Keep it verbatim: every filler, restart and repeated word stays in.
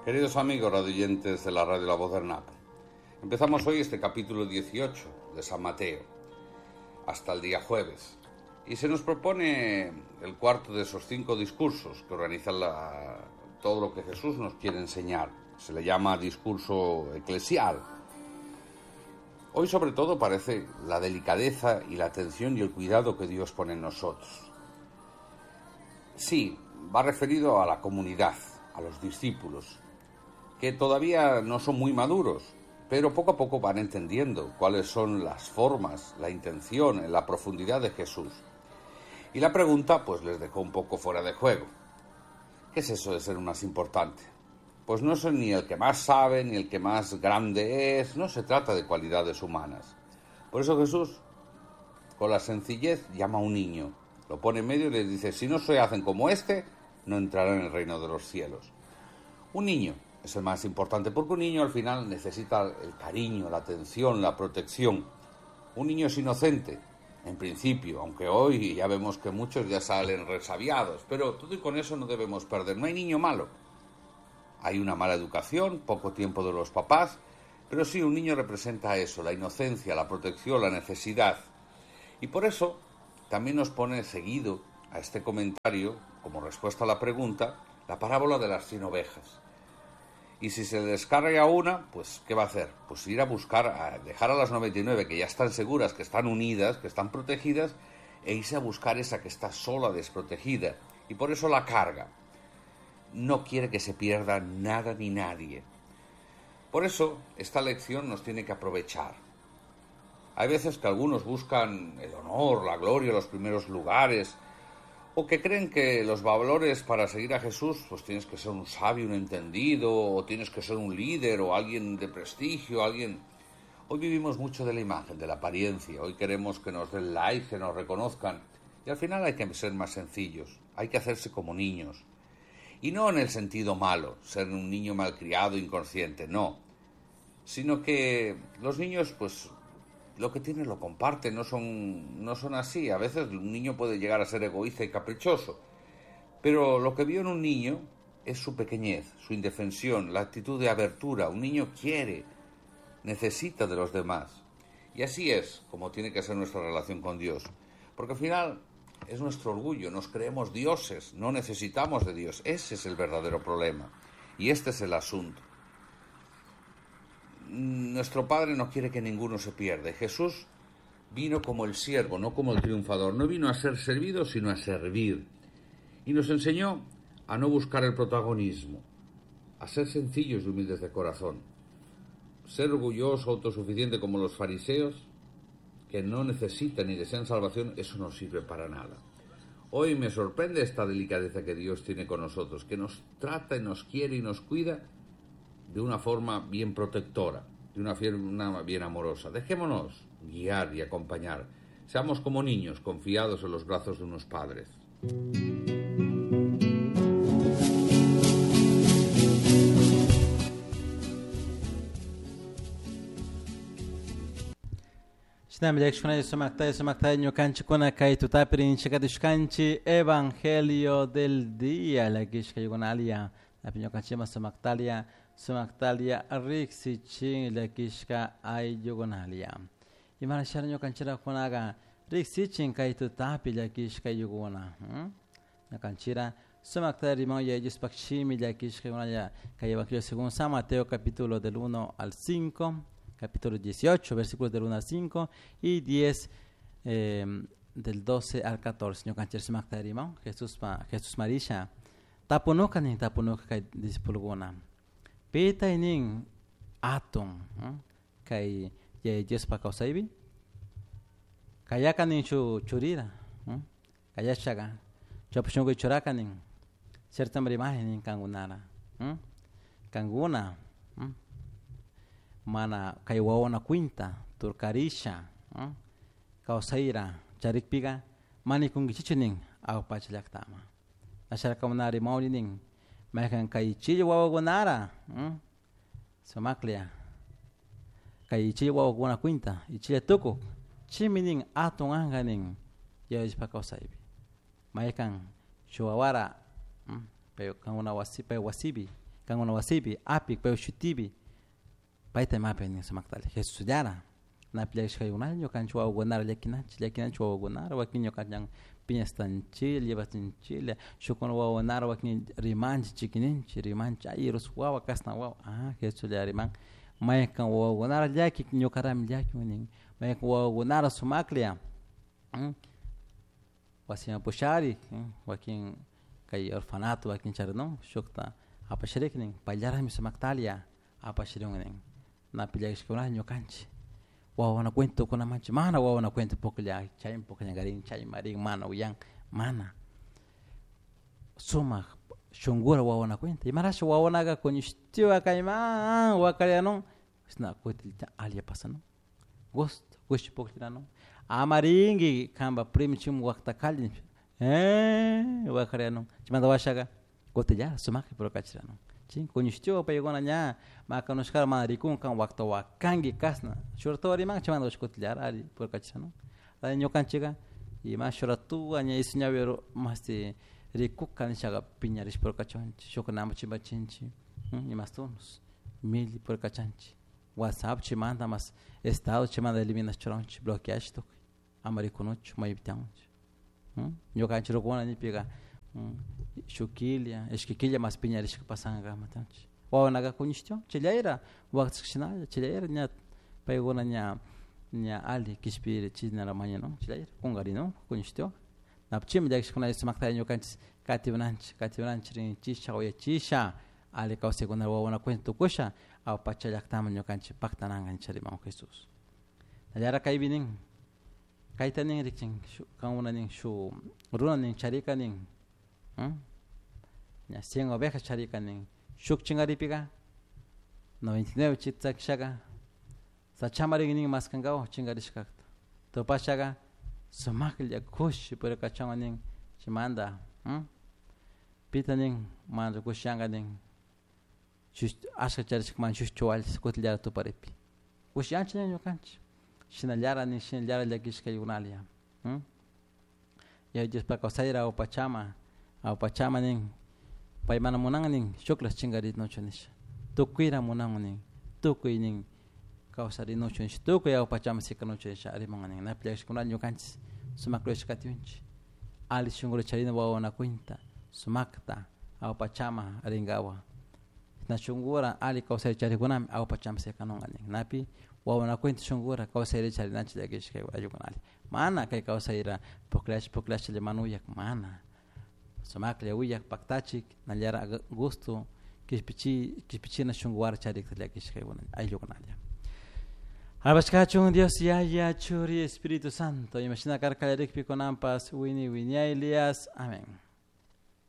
Queridos amigos radioyentes de la radio La Voz del Napo, empezamos hoy este capítulo dieciocho de San Mateo, hasta el día jueves, y se nos propone el cuarto de esos cinco discursos que organizan la, todo lo que Jesús nos quiere enseñar. Se le llama discurso eclesial. Hoy sobre todo parece la delicadeza y la atención y el cuidado que Dios pone en nosotros. Sí, va referido a la comunidad, a los discípulos, que todavía no son muy maduros, pero poco a poco van entendiendo cuáles son las formas, la intención, la profundidad de Jesús. Y la pregunta, pues, les dejó un poco fuera de juego. ¿Qué es eso de ser el más importante? Pues no es ni el que más sabe, ni el que más grande es, no se trata de cualidades humanas. Por eso Jesús, con la sencillez, llama a un niño, lo pone en medio y les dice, si no se hacen como este, no entrarán en el reino de los cielos. Un niño es el más importante, porque un niño al final necesita el cariño, la atención, la protección. Un niño es inocente, en principio, aunque hoy ya vemos que muchos ya salen resabiados, pero todo y con eso no debemos perder. No hay niño malo. Hay una mala educación, poco tiempo de los papás, pero sí, un niño representa eso, la inocencia, la protección, la necesidad. Y por eso también nos pone seguido a este comentario, como respuesta a la pregunta, la parábola de las cien ovejas. Y si se descarga una, pues ¿qué va a hacer? Pues ir a buscar, a dejar a las noventa y nueve que ya están seguras, que están unidas, que están protegidas, e irse a buscar esa que está sola, desprotegida, y por eso la carga. No quiere que se pierda nada ni nadie. Por eso, esta lección nos tiene que aprovechar. Hay veces que algunos buscan el honor, la gloria, los primeros lugares, o que creen que los valores para seguir a Jesús, pues tienes que ser un sabio, un entendido, o tienes que ser un líder, o alguien de prestigio, alguien... Hoy vivimos mucho de la imagen, de la apariencia, hoy queremos que nos den like, que nos reconozcan, y al final hay que ser más sencillos, hay que hacerse como niños. Y no en el sentido malo, ser un niño malcriado, inconsciente, no, sino que los niños, pues, lo que tienen lo comparten, no son, no son así. A veces un niño puede llegar a ser egoísta y caprichoso, pero lo que vio en un niño es su pequeñez, su indefensión, la actitud de abertura. Un niño quiere, necesita de los demás. Y así es como tiene que ser nuestra relación con Dios, porque al final es nuestro orgullo, nos creemos dioses, no necesitamos de Dios. Ese es el verdadero problema y este es el asunto. Nuestro Padre no quiere que ninguno se pierda. Jesús vino como el siervo, no como el triunfador. No vino a ser servido, sino a servir. Y nos enseñó a no buscar el protagonismo, a ser sencillos y humildes de corazón. Ser orgulloso, autosuficiente como los fariseos, que no necesitan ni desean salvación, eso no sirve para nada. Hoy me sorprende esta delicadeza que Dios tiene con nosotros, que nos trata y nos quiere y nos cuida de una forma bien protectora, de una forma bien amorosa. Dejémonos guiar y acompañar. Seamos como niños confiados en los brazos de unos padres. Evangelio del día, la la Sumaktalia riksichin llakishka ayllukunalia. Imarashara ñukanchira kunaqa riksichin kay tutapi llakishka ayllukuna. Ñukanchira sumakta riman yayuspaq shimi llakishka ayllukuna kay Evangelio según San Mateo capítulo del uno al cinco, capítulo dieciocho, versículos del uno al cinco y diez eh, del doce al catorce. Ñukanchira sumakta riman Jesús ma, Jesús Marisha tapunuka ni tapunuka kay discipulukuna. Pita inin atun kay Yaya Diospa kawsaypi kayaka nin shu churira kayashaqa chawpi churaka nin cierta imagen nin kankunara kankuna mana kay wawana cuinta turkarisha kawsayra charikpiqa manikunkichikchu nin awpacha llaqtama asharakamunari mawni nin mayqan kay chilli wawakunara sumaklla kay chilli wawakuna cuinta ichilla tukuq chimi nin atun anqa nin Yaya Diospa kawsaypi mayqan chuwawara pay kankuna wasi pay wasipi Kankuna wasipi apik pay shutipi payta imapi nin sumaktalla Jesusllara napi llakishkaykunalla ñukanchik wawakunara llakinachik llakinachik wawakunara wakin ñukanchik piñashtanchilla llevachinchilla shukkuna wawakunara wakin rimanchik chikininchik rimanchik ay arroz wawa kashna wawa ah Jesuslla riman maykan wawakunara llaki ñukarami llakun nin maykan wawakunara sumaklla wasiman pusharik wakin kay orfanato wakin charinun shukta apasharik nin payllarami sumaktalya apashirun nin napi llakishkuna ñukanchik wawana cuenta tukunamanchik mana wawana cuenta puklla chaymi pukllakarin chaymi rin mana uyan mana sumak shunkura wawana cuenta imarashi wawanaka kuñishtiwa kayman wakarianun chashna kutinllatak alli pasanun gusto kushi pukllanun ama rinki kanpak primo chaymun waktakalli wakarianun chaymanta washaka kutinlla sumakta purkachiranu chay kuñishtiwa paykuna ña makanushkara mana rikun kan wakta wakanki kashna shuk riman chaymanta washa kutinllara alli purkachiranu ñukanchika ima shuk ratuka ña isu ñawi mashti rikuka nishaka piñarishpa purkachunchik shukkunaman chimpachinchik imastunus milli purkachanchik whatsapp chaymanta mas estado chaymanta eliminash churanchik bloqueash tukuy ama rikunuchu maypi tiyanchik ñukanchik rukuna nipika shuk killa ishki killa mas piñarishka pasanka matanchik wawanaka kuñishtiwan chayllaira waktashka chayllaira ña paykuna ña ña alli kishpiri chishnala mañanun chayllaira kunkarinun kuñishtiwan chaymi llakishkuna sumakta ñukanchik katiwananchik katiwananchik rinchisha uyachisha alli kawsaykuna wawakuna cuenta tukusha awpacha llaktaman ñukanchik paktananka nisha rimakun Jesús. Nallara kaypi nin kayta nin rikchin kankuna nin shuk runa nin charika nin ña cien ovejas charika nin shuk chinkaripika noventa y nueve chakishaka sachama rin nin maskankawan chinkarishkakta tupashaka sumaklla kushi purikachanwan nin chaymanta pita nin mana kushiyanka nin ashka charishka shuk chuwalli kutinllara tuparipi kushiyanchik ña ñukanchik shinallara nin shinallara llakishkaykunalla Yaya Diospak kawsayra awpachama awpachama nin pay mana munan nin shukla chinkarinuchu nisha tukuyra munan nin tukuy nin kawsarinuchu nisha tukuy awpachama sikanuchu nisha riman nin napi llakishkunalla ñukanchik sumak rurashka katiunchik alli shunkura charina wawana cuenta sumakta awpachama rinkawa na shunkura alli kawsay charikunami awpachama sikanunka nin napi wawana cuenta shunkura kawsayri charinachik llakishka ayllukunalla mana kay kawsayra pukllash pukllashlla mana uyak mana sumaklla uyak paktachik nallara gusto kishpichi kishpichina shunkuwara charikta llakishka ayllukunalla. Alabashkachun Dios Yaya Churi Espíritu Santo imashina karka kallarikpi kunanpas wini wiñaylias. Amén.